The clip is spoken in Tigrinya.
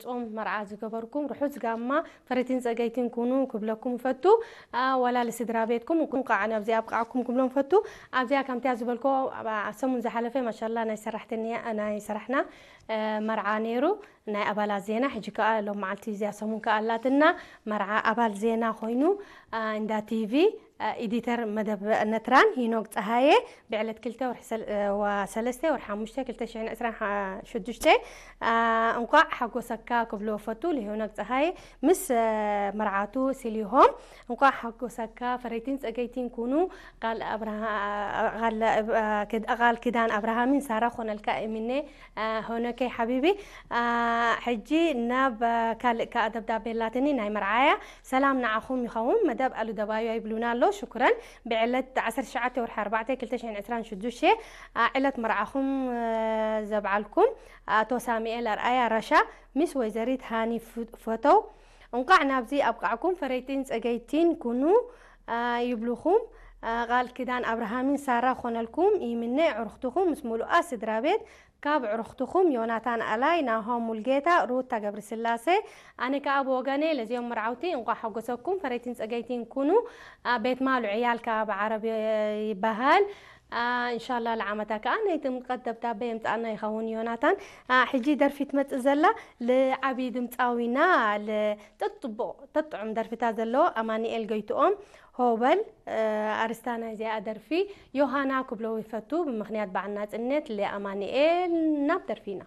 ጾም መርዓ ዝገበርኩም ርሑስ ጋማ ፈረይትን ጸገይትን ኩኑ ክብለኩም ፈቱ። ዋላ ልስድራ ቤትኩም እንኳዕ ናብዚ ኣብቃዕኩም ክብሎም ፈቱ። ኣብዚኣ ከምቲያ ዝበልኮ ሰሙን ዝሓለፈ ማሻላ ናይ ሰራሕተኛ ናይ ሰራሕና መርዓ ነይሩ፣ ናይ ኣባላት ዜና። ሕጂ ከኣ ሎም መዓልቲ እዚኣ ሰሙን ከኣ ኣላትና መርዓ ኣባል ዜና ኮይኑ እንዳ ቲቪ ኤዲተር መደብ ነትራን ሂኖክ ጸሃየ ብዕለት ክልተ ወርሒ ሰለስተ ወርሒ ሓሙሽተ ክልተ ሽሕን ዕስራን ሽዱሽተ። እንቋዕ ሓጎሰካ ክብሎ ፈቱ ልሄኖክ ጸሃየ ምስ መርዓቱ ሲሊሆም። እንቋዕ ሓጎሰካ ፈረይቲን ጸገይቲን ኩኑ። ቃል ኪዳን ኣብርሃምን ሳራ ኮነልካ እሚነ። ሆነከይ ሓቢቢ። ሕጂ ናብ ካልእ ከኣ ደብዳቤ ኣላትኒ ናይ መርዓያ። ሰላም ንዓኹም ይኸውን። መደብ ኣሉ ደባዩ ይብሉና ኣሎ። ሽኩረን። ብዕለት ዓሰርተ ትሽዓተ ወርሒ ኣርባዕተ ክልተ ሽሕን ዕስራን ሽዱሽተ ዕለት መርዓኹም ዘብዓልኩም ኣቶ ሳሙኤል ኣርኣያ ራሻ ምስ ወይዘሪት ሃኒ ፈተው እንቋዕ ናብዚ ኣብቃዕኩም። ፈረይቲን ጸገይቲን ኩኑ ይብሉኹም። ቃል ኪዳን ኣብርሃምን ሳራ ኮነልኩም ይምነ። ዕሩኽትኹም ምስ ሙሉኣ ስድራ ቤት ካብ ዕሩኽትኹም ዮናታን ኣላይ፣ ናሆም ሙልጌታ፣ ሩታ ገብረስላሴ። ኣነ ከኣ ብወገነ ለዚኦም መርዓውቲ እንቋዕ ሓጎሰኩም። ፈረይቲን ጸገይቲን ኩኑ። ቤት ማሉ ዕያል ከኣ ብዓረብ ይበሃል። እንሻላ ለዓመታ ከኣ ናይ ጥምቀት ደብዳቤ የምጽኣና ይኸውን ዮናታን። ሕጂ ደርፊ ትመጽእ ዘላ ልዓቢ ድምጻዊና ተጥቡቕ ተጥዑም ደርፊታት ዘለዎ ኣማኒኤል ጎይትኦም ሆበል። ኣርስታ ናይዚኣ ደርፊ ዮሃና ክብሎ ይፈቱ ብምኽንያት በዓል ናጽነት። ለኣማኒኤል ናብ ደርፊና።